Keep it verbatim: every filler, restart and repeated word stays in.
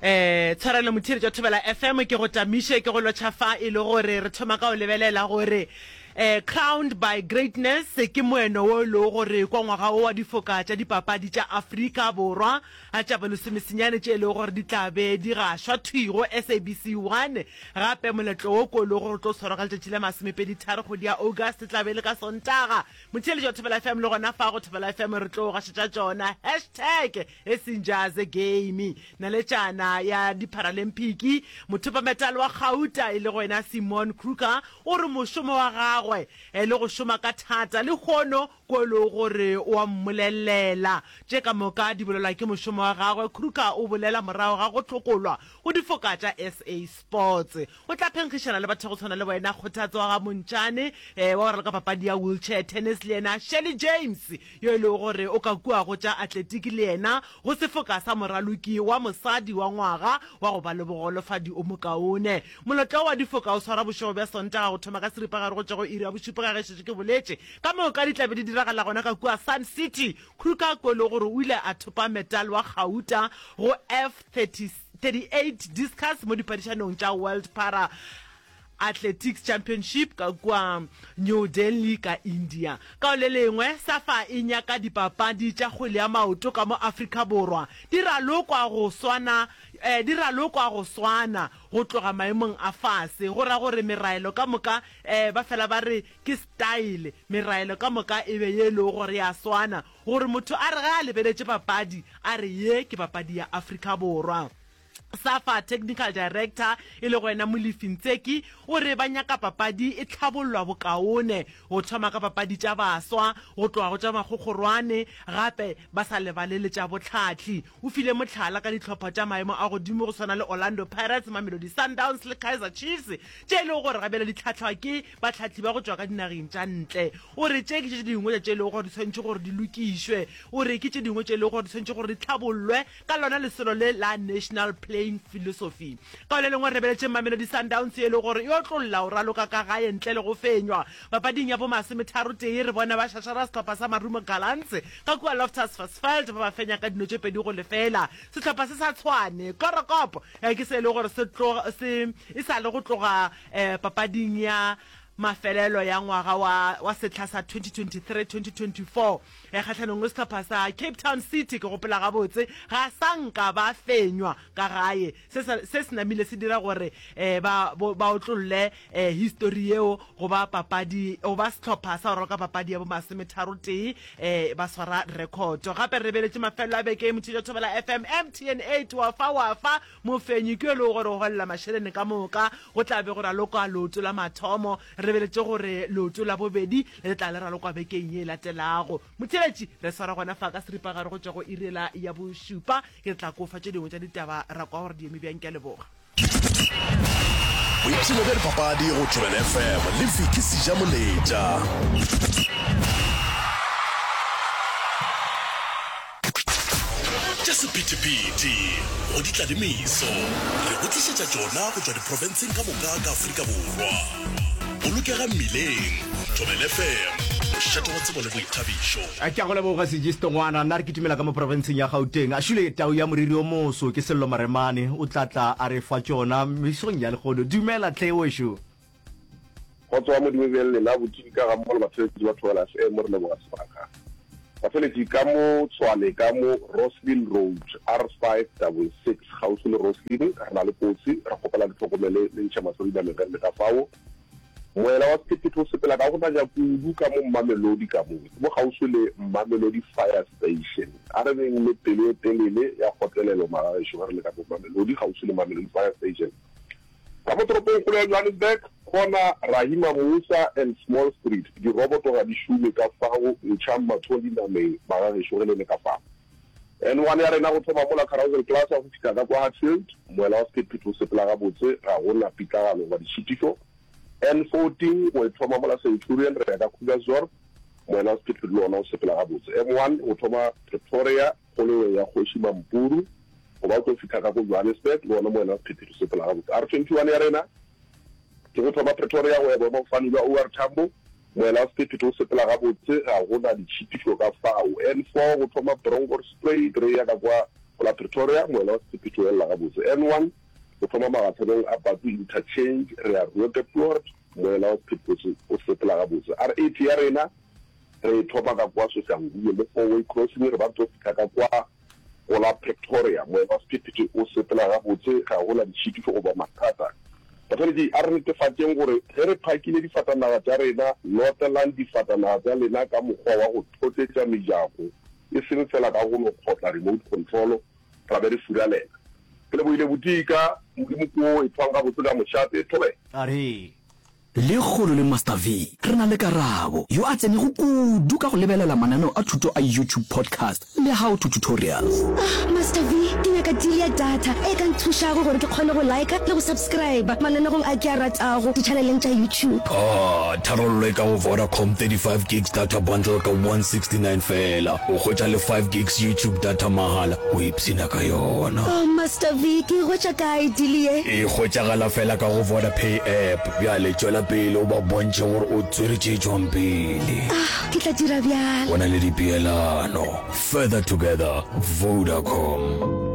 Eh tshwarelo motheeletši wa Thobela F M, ke go tamiše ke go lotšha fa e le gore re thoma ka go lebelela gore eh Crowned by Greatness ke moeno wo e lego gore kwa ngwaga wo wa difoka tša dipapadi tša Afrika Borwa tša bolesomesenyane tše e lego gore di tla be di gašwa thwi go S A B C one. Gape moletlo wo ko e lego gore o tlo tshwarwa ka letšatši la masomepedi tharo kgwedi ya August, e tla be e le ka Sontaga, motheeletši wa Thobela F M, le gona fa go Thobela F M re tlo gašetša tšona. Hashtag e seng game. Naletšana ya Dipharalymphiki, mothopametale wa gauta e le go wena Simon Kruger, o re mošomo wa gagwe eh, le go šoma ka thata le kgono ko e lego gore o a mmolelela. Tše ka moka di bolelwa ke mošomo wa gagwe. Kruger o bolela morago ga go hlokolwa go difoka tša S A Sports. O tla phenkgišana le batho go tshwana le wena Kgothatso wa ga Montšane, eh, wa go raloka papadi ya wheelchair tennis, le yena Shelly James yo e lego gore o ka kua go tša atletiki, le yena go sefoka sa moraloki wa mosadi wa ngwaga wa go ba le bogolofadi o mokaone. Moletlo wa difoka o swara bošego bja Sontaga go thoma ka seripagare go tšwa go iri ya bošupa, ka ge šetše ke boletše. Ka moka di tla be di diragala gona ka kua Sun City. Kruger ko e le gore o ile a thopa metal wa gauta go F thirty-eight discus mo diphadišanong tša World Para Athletics Championship ka kua New Delhi ka India. Ka le lengwe, SAFA e nyaka dipapadi tša kgwele ya maoto ka mo Afrika Borwa di ralokwa go swana eh, di ralokwa go swana go tloga maemong a fase. Go ra gore meraelo ka moka, eh, ba fela ba re ke style, meraelo ka moka e be ye e lego gore ya swana, gore motho a re ge a lebeletše papadi a re ye ke papadi ya Afrika Borwa. SAFA technical director e le go wena Molefi Ntseki o re ba nyaka papadi e tlhabollwa bokaone, go thoma ka papadi tša baswa go tloga go tša makgokgorwane, gape ba sa lebale le tša botlhahli. O file mohlala ka dihlopha tša maemo a godimo go swana le Orlando Pirates, Mamelodi Sundowns le Kaizer Chiefs, tše e lego gore gabjale di tlhahlwa ke batlhahli ba go tšwa ka dinageng tša ntle. O re tše ke tše dingwe tša tše e lego gore di swanetše gore di lokišwe. O re ke tše dingwe tše e lego gore di swanetše gore di tlhabollwe ka lona lesolo le la national playing philosophy. Ka le lengwe, re lebeletše Mamelodi Sundowns e le gore e otlolla o raloka ka gae ntle le go fenywa papading ya bomasometharotee. Re bona ba šašara sehlopha sa Marumo Gallants ka kua Loftus Versfeld, ba ba fenya ka dino tše pedi go lefela. Sehlopha se sa Tshwane Chloorkop ke se e le gore se se e sa le go tloga um papading ya mafelelo ya ngwaga wa wa sehla sa twenty twenty-three twenty twenty-four kgahlanong le sehlopha sa Cape Town City, ke gopola gabotse, ga sa nka ba fenywa ka gae. Se se se namile se dira gore um ba ba otlolle um history yeo go ba papadi go ba sehlopha sa go raloka papadi ya bomasometharotee um ba swara record. Gape re lebeletše mafelelo a beke, motšhitša Thobela F M, M T N eight wa fa wa fa mofenyi ke yo e lego gore o golela mašeleng ka moka. Go tla be go ralokwa leoto la mathomo. Re lebeletše gore leoto la bobedi le tla le ralokwa bekeng ye e latelago. Motheeletši, re swara gona fa ka seripagare go tšwa go irela ya bošupa. Ke tla kofa tše dingwe tša ditaba ra kwa gore di eme bjang. Ke a leboga. Boipshino bja dipapadi go Thobela F M le Vicky Sejamoletša. Tša sephethephethe go di tla le meso, re go tlišetša tšona go tšwa diprofenseng ka moka ka Afrika Borwa. Bolokega mmileng. Thobela F M, mošate wa tsebo le boithabišo. Ke a go leboga Sejisto ngwana. Nna re kitimela ka mo profenseng ya Gauteng. A šule tau ya moriri o moso ke Sello Maremane, o tla tla a re fa tšona mesong ya lehono. Dumela tlhe wešo. Kgotso wa Modimo be le lena botšibi ka ga mmogo le batheletši ba Thobela F M, re leboga sebaka. Batheletši ka mo Tshwane ka mo Rosslyn Road R five double six kgauswi le Rosslyn re na le kotsi, re kgopela le tlhokomele le ntšhe mahlo dinameng ge re le ka fao. Moela wa sephethephethe o sepela ka go nanya kudu ka mo Mamelodi ka mo, ke mo kgauswi le Mamelodi Fire Station. A re beng le pelo e telele ya kgotlelelo magagešo ge re le ka mo Mamelodi kgauswi le Mamelodi Fire Station. Ka mo toropongkgolo ya Johannesburg, corner Rahima Moosa and Small Street, diroboto ga di šome ka fao, ntšhang matsogo dinameng magagešo ge le le ka fao. N one ya rena go thoma mola Carousel Plaza go fihla ka kwa Hatfield, moela wa sephethephethe o sepela gabotse, ga go na pitlagalo goba ditšhitišo. N fourteen go e thoma mola Centurion re ya ka Krugersdorp, moela wa sephethephethe le ona o sepela gabotse. M one go thoma Pretoria kgoleweng ya Kgoši Mampuru go ba o tlo fihla ka ko Johannesburg, le ona moela wa sephethephethe o sepela gabotse. R twenty one ya rena ke go thoma Pretoria go ya boemafofane bja O R Tambo, moela wa sephethephethe o sepela gabotse, ga go na ditšhitišo ka fao. N four go thoma Bronkhorstspruit re ya ka kwa Go la Pretoria, moela wa sephethephethe o elela gabotse. N one, go thoma magahlanong a Bathu Interchange re ya Roodepoort, moela wa sephethephethe o sepela gabotse. R eighty ya rena re e thoma ka kwa Soshanguve mo four way crossing re ba re tlo fihla ka kwa go la Pretoria, moela wa sephethephethe o sepela gabotse, ga go na ditšhitišo goba mathata. Batheeletši, a re netefatšeng gore ge re phakile difatanaga tša rena, lotlelang difatanaga tša lena ka mokgwa wa go thotletša mejako, e seng feela ka go no kgotla remote control ra be re furalela. Ke lebohile Botika, Modimo ko ethwang gabotse ka mošate. Thobela. A re. Lekgolo le Master Vee re na le Karabo, yo a tsenego kudu ka go lebelela mananeo a thuto a YouTube Podcast le How to Tutorials. Ah, Master Vee, ke nyaka deal ya data e ka nthušago gore ke kgone go liker le go subscriber mananegong a ke a ratago ditšhaneleng tša YouTube. Ah, tharollo e ka go Vodacom thirty five gigs data bundle ka one sixty nine feela. O hwetša le five gigs YouTube data mahala, o ipshina ka yona. Oh, Master Vee, ke e hwetša kae deal ye? E hwetšagala feela ka go Vodapay app. Bjale tšwela pele o ba bontšhe gore o tswere tše tšwang pele. Ah, ke tla dira bjalo. Go na le dipeelano. Further together, Vodacom.